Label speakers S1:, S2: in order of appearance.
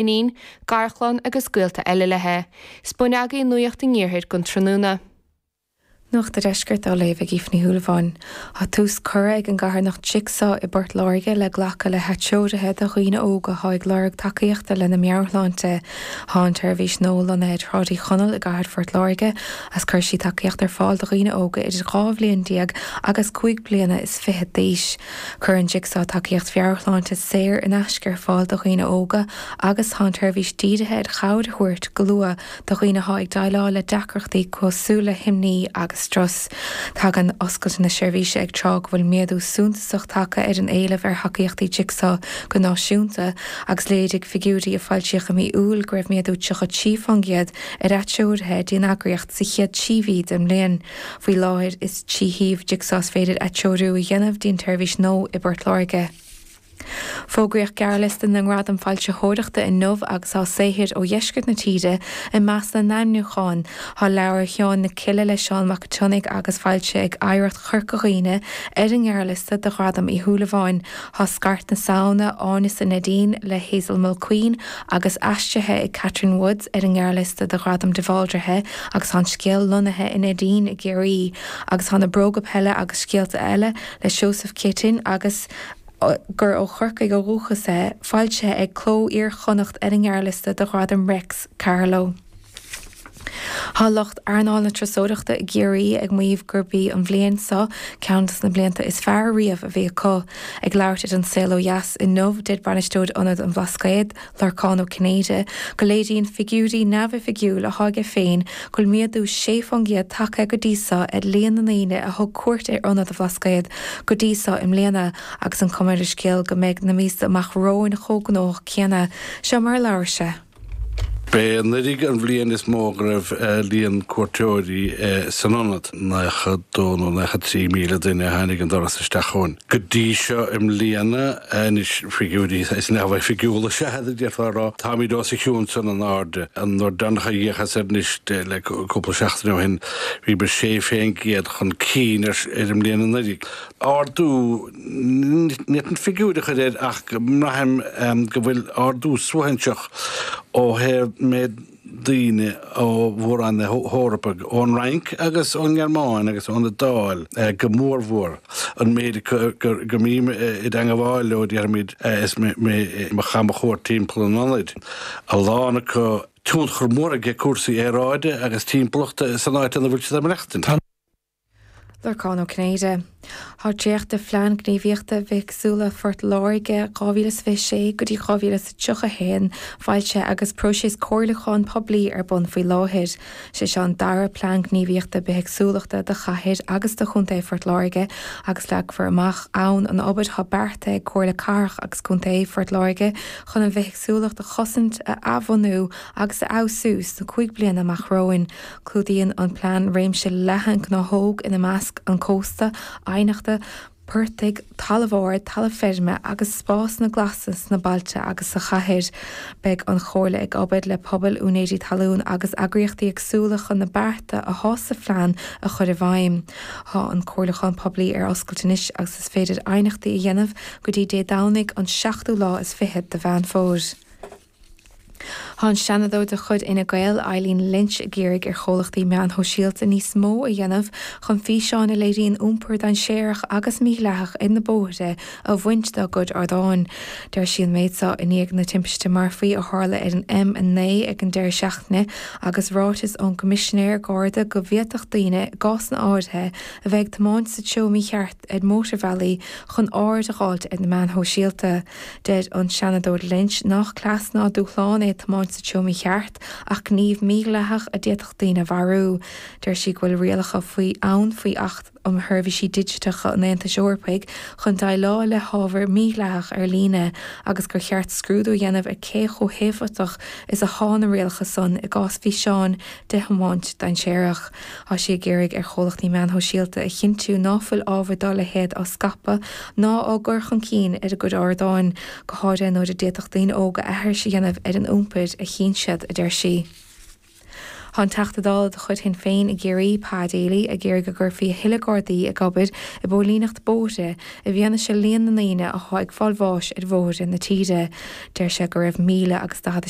S1: Iníon, garchlann agus gaolta eile léi. 'S b'in agaibh Nuacht an Iarthair don tráthnóna.
S2: Nuacht an Deiscirt á léamh ag Aoife Ní Shúilleabháin. Tá tús curtha ag an gcarthanacht Jigsaw i bPort Láirge le glacadh le hatreoruithe do dhaoine óga atá ag lorg tacaíochta lena meabhairshláinte. Tá an tseirbhís nua lonnaithe ar Shráid Uí Chonaill i gcathair Phort Láirge agus cuirfidh sí tacaíocht ar fáil do dhaoine óga idir 12 bhliain agus 5 bliana is fichead d'aois. Cuireann Jigsaw tacaíocht mheabhairshláinte saor in aisce ar fáil do dhaoine óga agus tá an tseirbhís dírithe ar chabhair a thabhairt go luath do dhaoine atá ag déileáil le deacrachtaí cosúil le himní agus strus. Tagann oscailt na seirbhíse ag tráth go bhfuil méadú suntasach tagtha ar an éileamh ar thacaíochtaí Jigsaw go náisiúnta agus léirigh figiúirí a foilsíodh i mí Iúil go raibh méadú 33% ar atreoruithe dtí an eagraíocht sa chéad trí mhí den mbliain. Faoi láthair is trí shuíomh Jigsaw is féidir atreorú a dhéanamh dtí an tseirbhís nua i bPort Láirge. Fógraíodh gearrliosta na nGradam Foilsitheoireachta inniu agus tá saothair ó dheisceart na tíre i measc na n-ainmniúchán. Tá leabhar Sheáin na Cille le Seán Mac Tionnaigh agus foilsithe ag Oidhreacht Chorca Dhuibhne ar an ngearrliosta do Ghradam Uí Shúilleabháin. Tá Scairt na Samhna, Áineasa Neidín le Hazel Mulqueen agus aistrithe ag Catherine Woods ar an ngearrliosta do Ghradam de Bhaldraithe agus tá an scéal lonnaithe i Neidín i gCiarraí agus tá Na Bróga Peile agus Scéalta Eile le Seosamh Céitinn agus gur ó Chorcaigh ó dhúchas é, foilsithe ag Cló Iar-Chonnacht ar an ngearrliosta do Ghradam Réics Carló. Tá lucht earnáil na turasóireachta i gCiarraí ag maíomh gurb í an bhliain seo ceann des na blianta is fearr riamh a bhí acu. Ag labhairt ar An Saol Ó Dheas inniu, deir bainisteoir Ionad an Bhlascaoid, Lorcán Ó Cinnéide, go léiríonn figiúirí neamhoifigiúil atá aige féin go bhfuil méadú 6% tagtha go dtí seo ar líon na ndaoine a thug cuairt ar Ionad an Bhlascaoid go dtí seo i mbliana agus an chuma ar an scéal go mbeidh na míosa amach romhainn chomh gnóthach céanna. Seo mar a labhair sé.
S3: B'é anuraidh an bhliain is mó go raibh líon cuairteoirí san ionad, 92 nó 93,000 duine a tháinig an doras isteach chugainn go dtí seo i mbliana. Anois, figiúirí is neamhoifigiúla is ea iad, a d'fhéadfá a rá. Táimid os a chionn san in airde. An uair deireanach a d'fhéachas air anois le cúpla seachtain ó shin, bhíomar 6% chun cinn ar an mbliain anuraidh. Ardú, ní fhéadfainn figiúir a chur air ach mbraithim go bhfuil ardú suaithinseach ó thaobh méid daoine ó mhór-roinn na hEorpa, ón Fhrainc agus ón nGearmáin agus ón Iodáil go mórmhór. An méid go mbím i dteangabháil leo, déarfaimid, is mé ag caitheamh mo chuairt timpeall an ionaid, a lán acu, tionchar mór aige cúrsaí aeráide agus timpeallachta san áit ina bhfuil siad ag maireachtaint.
S2: Lorcán Ó Cinnéide. Tá dréacht de Phlean Gníomhaíochta Bithéagsúlachta Phort Láirge 2026 go dtí 2031 foilsithe agus próiseas comhairliúcháin poiblí ar bun faoi láthair. Sé seo an dara Plean Gníomhaíochta Bithéagsúlachta do chathair agus do chontae Phort Láirge agus leagfar amach ann an obair atá beartaithe ag Comhairle Cathrach agus Contae Phort Láirge chun an bhithéagsúlacht a chosaint, a athbhunú agus a fheabhsú sna 5 bliana amach romhainn. Clúdaíonn an plean réimse leathan gnáthóg, ina measc an cósta, aibhneacha, portaigh, talamh ard, talamh feirme agus spásanna glasa sna bailte agus sa chathair. Beidh an Chomhairle ag obair le pobail, úinéirí talún agus eagraíochtaí éagsúla chun na bearta atá sa phlean a chur i bhfeidhm. Tá an comhairliúchán poiblí ar oscailt anois agus is féidir aighneachtaí a dhéanamh go dtí Dé Domhnaigh an seachtú lá is fichead de Mheán Fómhair. Tá an Seanadóir de chuid Fhine Gael, Eileen Lynch ag iarraidh ar chomhlachtaí meáin shóisialta níos mó a dhéanamh chun físeáin a léiríonn iompar dainséarach agus mídhleathach ar na bóithre a bhaint dá gcuid ardáin. Deir sí an méid seo i ndiaidh na timpiste marfaí a tharla ar an M9 ag an deireadh seachtaine agus ráiteas ón gCoimisinéir Garda go bhféadfadh daoine, i gcásanna áirithe, a bheith ag tiomáint sa treo mícheart ar mhótarbhealaí chun aird a dh'fháilt ar na meáin shóisialta. Deir an Seanadóir Lynch nach cleas ná dúshlán é tiomáint sa treo mícheart ach gníomh mídhleathach a d'fhéadfadh daoine a mharú. Deir sí go bhfuil rialacha faoi ann faoi Acht um Sheirbhísí Digiteacha an Aontais Eorpaigh chun déileáil le hábhar mídhleathach ar líne agus gur cheart scrúdú a dhéanamh ar cé chomh héifeachtach is athá na rialacha san i gcás físeáin de thiomáint dainséarach. Tá sí ag iarraidh ar chomhlachtaí meáin shóisialta a chinntiú ná fuil ábhar dá leithéid á scaipeadh ná á gcur chun cinn ar a gcuid ardáin, go háirithe nuair a d'fhéadfadh daoine óga aithris a dhéanamh ar an iompar a chíonn siad, a deir sí. Tá an Teachta Dála de chuid Shinn Féin i gCiarraí, Pa Daly, ag iarraidh go gcuirfí a thuilleadh Gardaí ag obair i bpóilíneacht bóithre i bhfianaise líon na ndaoine atá ag fáil bháis ar bhóithre na tíre. Deir sé go raibh 1,046.